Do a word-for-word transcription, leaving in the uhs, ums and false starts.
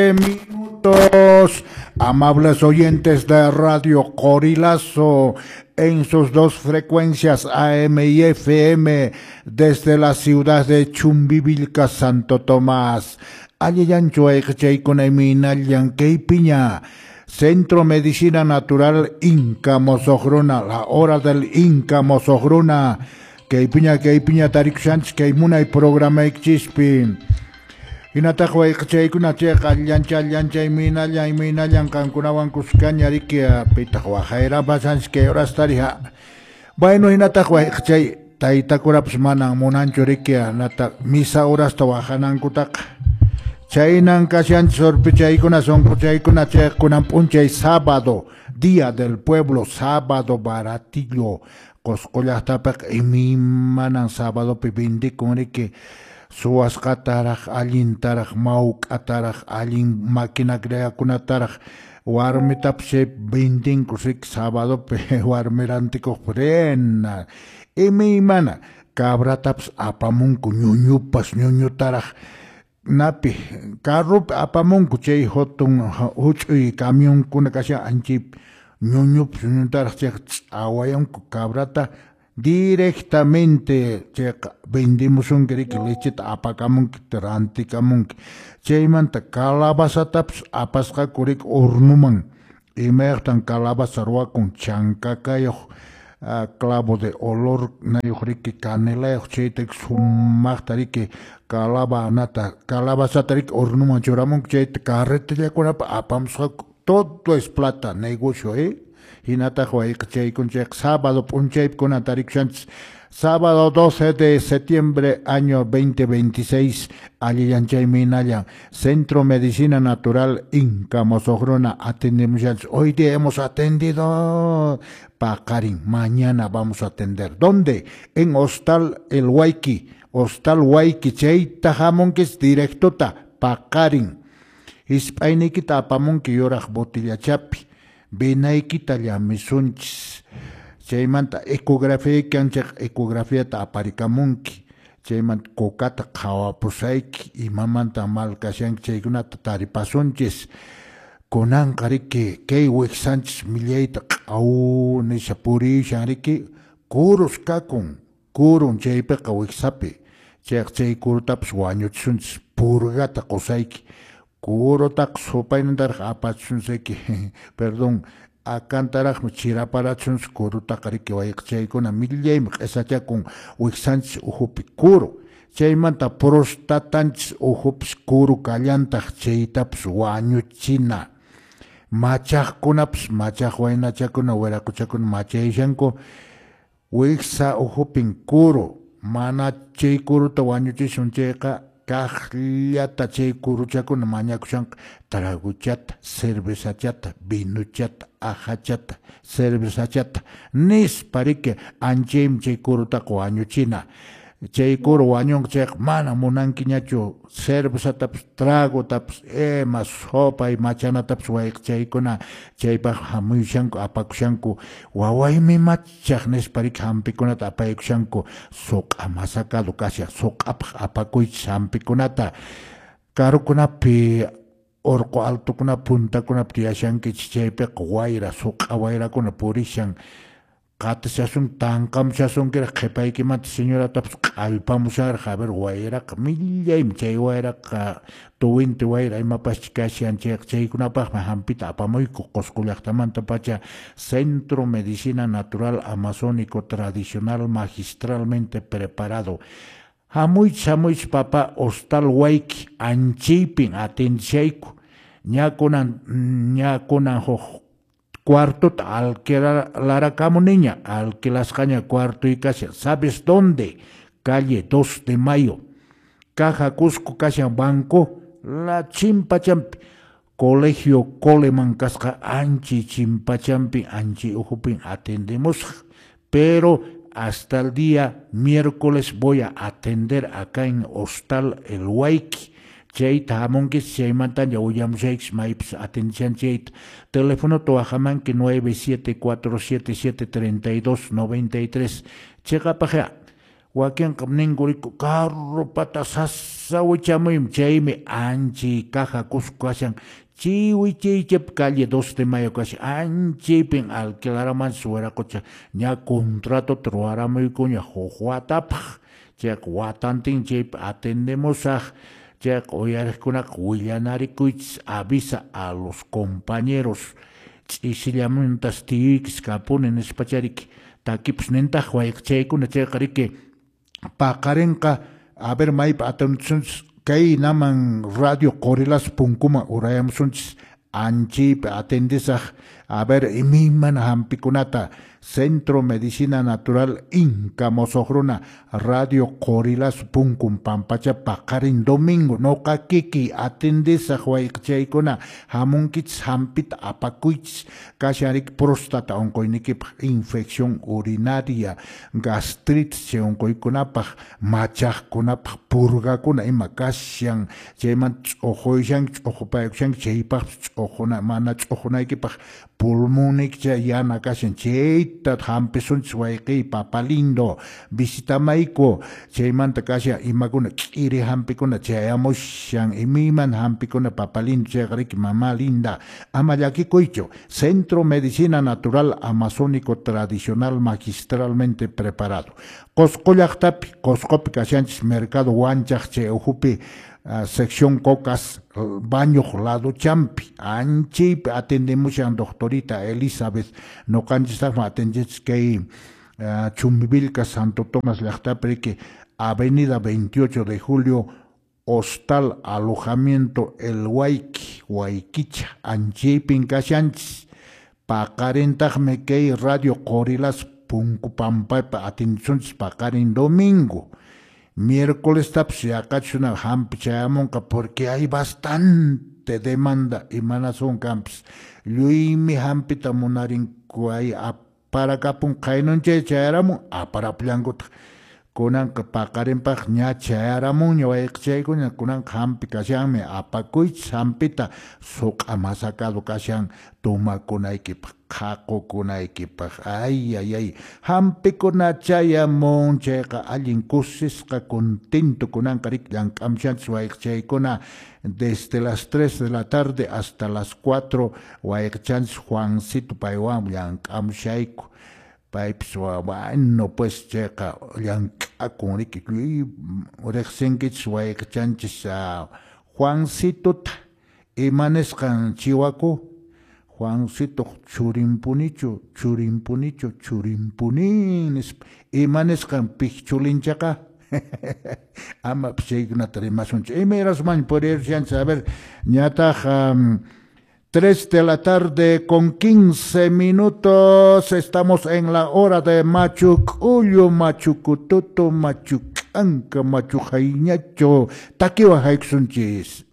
Minutos. Amables oyentes de Radio Qorilazo, en sus dos frecuencias A M y F M, desde la ciudad de Chumbivilca, Santo Tomás. Allillanchu ayqichaykuna imaynallan kaypiña. Centro Medicina Natural Inca Mosoqruna, la hora del Inca Mosoqruna. Kaypiña, kaypiña tarikushanchis kay munay programaykinchispi. Hinataq wayqichaykuna chayqa allancha allancha imaynallan imaynallan qankunawan kuskaña riki pitaq waqayrapasanchis kay horasta riha. Bueno, hinataq wayqichay taytakurapas manan munanchu riki nataq misa horasta waqanankutaqa. Chaynan kashanchis urpichaykuna sunquchaykuna chayqa kunan p'unchay sábado, día del pueblo, sábado baratillo. Qosqo llaqtapiqa imaymanan sábadopi vendikun riki. Suwasqataraq, allintaraq, mawk'ataraq, allin máquina creakunataraq, warmitapas chay vendinku riki sábadopi warmi rantikuq rena. Imaymana cabratapas apamunku ñuñupas ñuñutaraq napi carropi apamunku chay hatun huch'uy camionkuna kashan anchaypi ñuñupas ñuñutaraq chayqa ch'awayanku cabrata directamente chayqa vendimusunki riki lecheta apakamunki rantikamunki. Chaymanta calabazatapas apasqaku riki hornoman imayaqtan calabaza ruwakun chankakayuq clavo de olor nayuq riki canelayuq chayta sumaqta riki calabanata calabazata riki hornoman churamunku chayta carretillakunapi apamusqaku. Todo es plata, negocio, eh? Hinataq wayqichaykun chayqa sábado p'unchaypi kunan tarikushanchis. Sábado doce de septiembre año veinte veintiséis, allillanchay minallan, Centro Medicina Natural Inca Mosoqruna atendemos. Hoy día hemos atendido paqarin, mañana vamos a atender. ¿Dónde? En Hostal El Huayqui, Hostal Huayqui, chayta hamunkis directota paqarin. Hisp'ayniykita apamunki yuraq botillachapi, vinaykita llamisunchis. Chaymanta ecografía kanchaq ecografiata aparikamunki. Chaymanta kokata qhawapusayki, imamanta mal kashanki chaykunata taripasunchis. Kunanqa riki kay wiksanchis millayta q'aw nisha purishan riki kurus kakun, kurun chaypiqa wiksapi. Chayqa chay kurutapas wañuchisunchis, purgata qusayki. Kurutaqa supaynintaraq apachisunchayki, perdón, akantaraqmi chiraparachisunchis kurutaqa riki wayqichaykuna millaymi q'isachakun wiksanchis ukhupi kuru. Chaymanta prostatanchis ukhupis kuru kallantaq chaytapas wañuchina. Machaqkunapas machaq waynachakuna wiraquchakuna machayashanku wiksa ukhupin kuru. Mana chay kuruta wañuchisun chayqa kaqllata chay kuruchakuna mañakushanqa traguchata, cervezachata, vinuchata, ajachata, cervezachata nispa riki anchaymi chay kurutaqa wañuchina. Chay kuru wañunqa chayqa mana munankiñachu cervezatapas, tragotapas, ima sopay machanatapas wayqichaykuna chaypaq hamuyushanku apakushanku wawaymi machaq nispa riki hampikunata apaykushanku suq'a masakado kashan suq'apaq apakuychis hampikunata. Karukunapi urqu altukunapi puntakunapi tiyashankichis chaypiqa wayra suq'a wayrakuna purishan. Qatishasun tanqamushasunkiraq qhipaykimanta señoratapas q'allpamushanraq a ver wayraqa millaymi chay wayraqa tuwinti wayra imapaschi kashan chayqa chaykunapaqmi hampita apamuyku Qosqo llaqtamantapacha Centro Medicina Natural Amazónico Tradicional Magistralmente Preparado. Hamuychis hamuychis papa Hostal Huayqui anchaypin atendishayku ña kunan ña kunan huk cuartota alquilarakamuniña, alquilasqaña cuarto y kashan. ¿Sabes dónde? Calle dos de Mayo. Caja Cusco kashan banco, la chimpachampi. Colegio Coleman kasqa anchi chimpachampi, anchi ukhupin atendemos. Pero hasta el día miércoles voy a atender acá en Hostal El Huayqui. Chayta hamunkis chaymanta ña willamushaykish maypis atendishan chayta. Teléfono tuwajamanki nueve siete cuatro siete siete treinta y dos noventa y tres. Chayqapaqya Wakinqa ninku riku carropata sasa wichamuymi chaymi anchi caja Cusco kashan chay wichaychapi calle dos de Mayo kashan anchaypin alquilaramanchis wiraqucha ña contratota ruwaramuykuña huk watapaq chayqa watantin chaypi atendemusaq chayqa uyariqkunaqa willanarikuychis avisa a los compañeros ch'isillamuntas tiyuykis kapuni nispachariki takipus nintaq wayqichaykuna chayqa riki paqarinqa a ver maypi atendisunchis kaynaman radio Qorilasu punkuman urayamusunchis anchaypi atendisaq a ver imaymana hampikunata Centro Medicina Natural Inca Mosoq Runa Radio Qorilasu punkun pampacha paqarin domingo noqa kikiy atendisaq wayqichaykuna hamunkichis hampita apakuychis kashan riki próstata unquynikipaq infección urinaria gastritis chay unquykunapaq machaqkunapaq purgakuna ima kashan chaymanta ch'uquyashanki ch'uqupaykushanki chaypaqpis ch'uquna mana ch'uqunaykipaq pulmonniyki chay yana kashan chayta hampisunchis wayqiy papa lindo visitamayku chaymanta kashan imakuna k'iri hampikuna chayamushan imaymana hampikuna papa lindo chayqa riki mama linda ama llakikuychu Centro Medicina Natural Amazónico Tradicional magistralmente preparado Qosqo llaqtapi Qosqopi kashanchis mercado Wanchaq chay ukhupi Uh, sección Cocas, baño lado champi, anchaypi atendemushan doctorita Elizabeth, noqanchistaqmi atendinchis kay uh, Chumbivilcas Santo Tomás llaqtapi riki Avenida veintiocho de Julio, Hostal Alojamiento El Huayqui, Huayquicha, anchaypin kashanchis, paqarintaqmi kay radio Qorilasu punku pampaypi atendisunchis paqarin domingo. Miércoles tapis yaqachuna hampi chayamunqa porque hay bastante demanda imanasun kanpis lluymi hampita munarinku hay aparakapun qaynunchay chayaramun aparapullankutaq kunanqa paqarinpaq ña chayaramunña wayqichaykuna kunanqa hampi kashanmi apakuychis hampita suq'a masakado kashan tumakunaykipaq qhaqukunaykipaq ay ay ay hampikuna chayamun chayqa allin kusisqa contento kunanqa riki llank'amushanchis wayqichaykuna desde las tres de la tarde hasta las cuatro wayqichanchis Juancito paywan llank'amushayku paypis bueno pues chayqa llank'akun riki lluy riqsinkichis wayqichanchis Juancitota ima nisqan chiwaku Juancitoq churinpunichu churinpunichu churinpuni nispa ima nisqan pikchulinchaqa ama chaykunata rimasunchu imayrasmanchu purirushanchis a ver ñataq um, tres de la tarde con quince minutos, estamos en la hora de Machu K'ullu, Machu Kututu, Machu K'anka, Machu Hayñacho, takiwan haykusunchis.